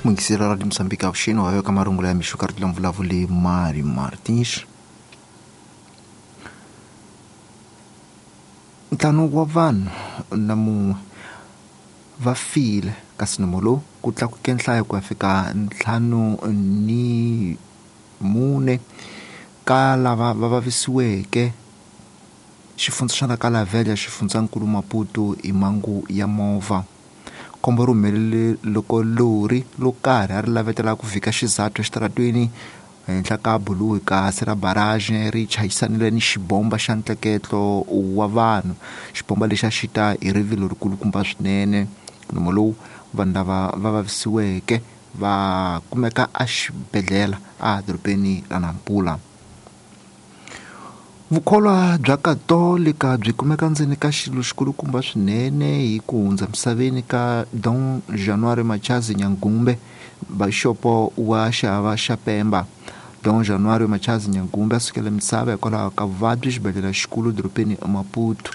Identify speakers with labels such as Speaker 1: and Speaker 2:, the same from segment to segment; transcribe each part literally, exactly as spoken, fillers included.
Speaker 1: Mungisela Radio Moçambique avuxeni wa ka marungula ya mixo ka ri vulavuli Mari Martins. Ntlhanu wa vanhu na mun'we va file kasi nomo lowu ku tlakuke nhlayo ku ya fika ntlhanu ni mune ka lava va vavisiweke xifundza xa Nakalavela xifundzankulu Maputo hi mhangu ya movha. Khombo ri humelele loko lori lo karhi a ri lavetela ku vhika xizathu exitarateni henhla ka buluhi kasi ra barrage ri chayisanile ni xibomba xa ntleketlo wa vanhu. Xibomba lexi a xi ta hi rivilo rikulukumba swinene. Nomo lowu vanhu lava va vavisiweke va kumeka exibedhlele a dorobeni ra Nampula. Vukholwa bya Katolika byi kumeka ndzeni ka xilo xikulukumba swinene hi ku hundza misaveni ka Dom Januário Machazi Nyangumbe, bixopo wa xihava xa Pemba. Dom Januário Machazi Nyangumbe a sukela misava hikwalaho ka vuvabyi xibedhlele xikulu dorobeni Maputo.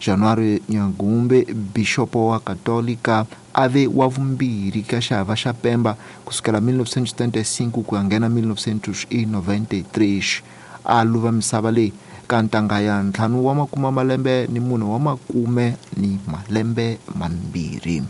Speaker 1: Januário Nyangumbe, bixopo wa Katolika, a ve wa vumbirhi ka xihava xa Pemba kusukela mil novecentos e setenta e cinco ku ya nghena mil novecentos e noventa e três. A luva misava leyi ka ntanga ya ntlhanu wa makume malembe ni mune wa makume ni malembe mambirhi.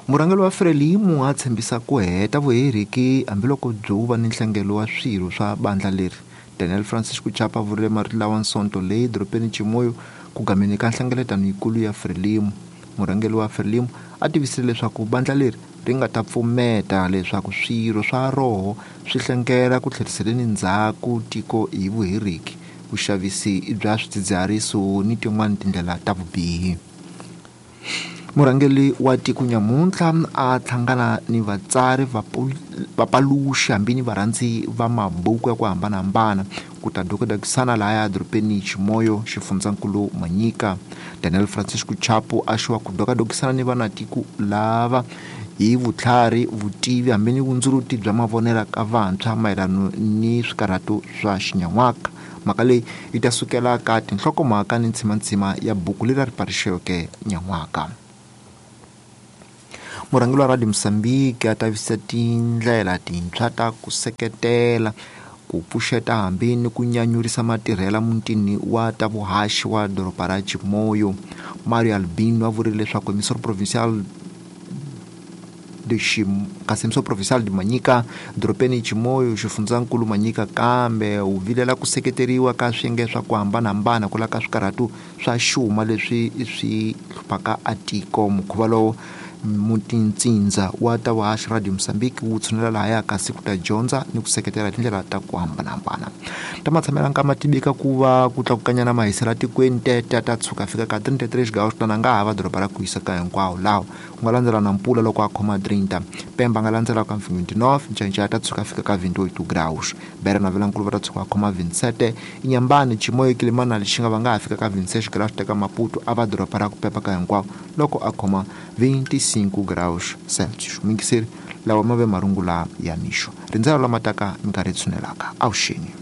Speaker 1: Murhangeri wa Frelimo a tshembisa ku heta vuheriki hambiloko byo va ni nhlengelo wa swirho swa bandla leri. Daniel Francisco Chapo a vurile marito lawa Nsonto leyi dorobeni Chimoio ku gameni ka nhlengeletano yikulu ya Frelimo. Murhangeri wa Frelimo a tivisile leswaku bandla leri ri nga ta pfumeta leswaku swirho swa roho swi hlengela ku tlheriseleni ndzhaku tiko hi vuheriki, vuxavisi bya swidzidziharisi ni tin'wana tindlela ta vubihi. Murhangeri wa tiko nyamuntlha a hlangana ni vatsari, vapaluxi hambi ni varhandzi va mabuku ya ku hambanahambana ku ta dokodakisana lahaya dorobeni Chimoio xifundzankulu Manyika. Daniel Francisco Chapo a xiwa ku dokadokisana ni vanatiko lava hi vutlhari, vutivi hambi ni vundzuluti bya mavonelo ka vantshwa mayelana ni swikarhato swa xinyan'waka. Mhaka leyi yi ta sukela ka tinhlokomhaka ni ntsimantsima ya buku leri ri paluxiweke nyan'waka. Murhangeri wa Radio Moçambique a tivisa tindlela tintshwa ta ku seketela ku pfuxeta hambi ni ku nyanyurisa matirhela mutini wa ta vuhaxi wa doroba ra Chimoio. Mario Albino a vurile leswaku Emissor Provincial de Chim kasi Emissor Provincial de Manyika dorobeni Chimoio xifundzankulu Manyika kambe wu vilela ku seketeriwa ka swiyenge swa ku hambanahambana ku laka swikarhato swa xuma leswi swi hluphaka a tiko. Mukhuva lowu mutintsindza wa ta vuhaxi Radio Moçambique wu tshunela lahaya kasi ku ta dyondza ni ku seketela tindlela ta ku hambanahambana. Ta matshamela nkama tivika ku va ku tlakukanyana mahiselo tikweni tete ta tshuka fika ka trinta e três graus tana nga hava doroba ra ku hisa ka hinkwawo lawa ku nga landzela na Nampula loko a khoma trinta, Pemba nga landzela ka vinte e nove, Ncanca ta tshuka fika ka vinte e oito graus, Beira na Vilankulu va ta tshuka khoma vinte e sete, Inhambane, Chimoio, Quelimane na Lixinga va nga ha fika ka vinte e seis graus teka Maputo a va doroba ra ku pepa ka hinkwawo loko a khoma vinte e cinco graus Celsius. Mingiseri lawa ma ve marungula ya mixo. Rindzelo lama taka minkarhi yi tshunelaka. Avuxeni.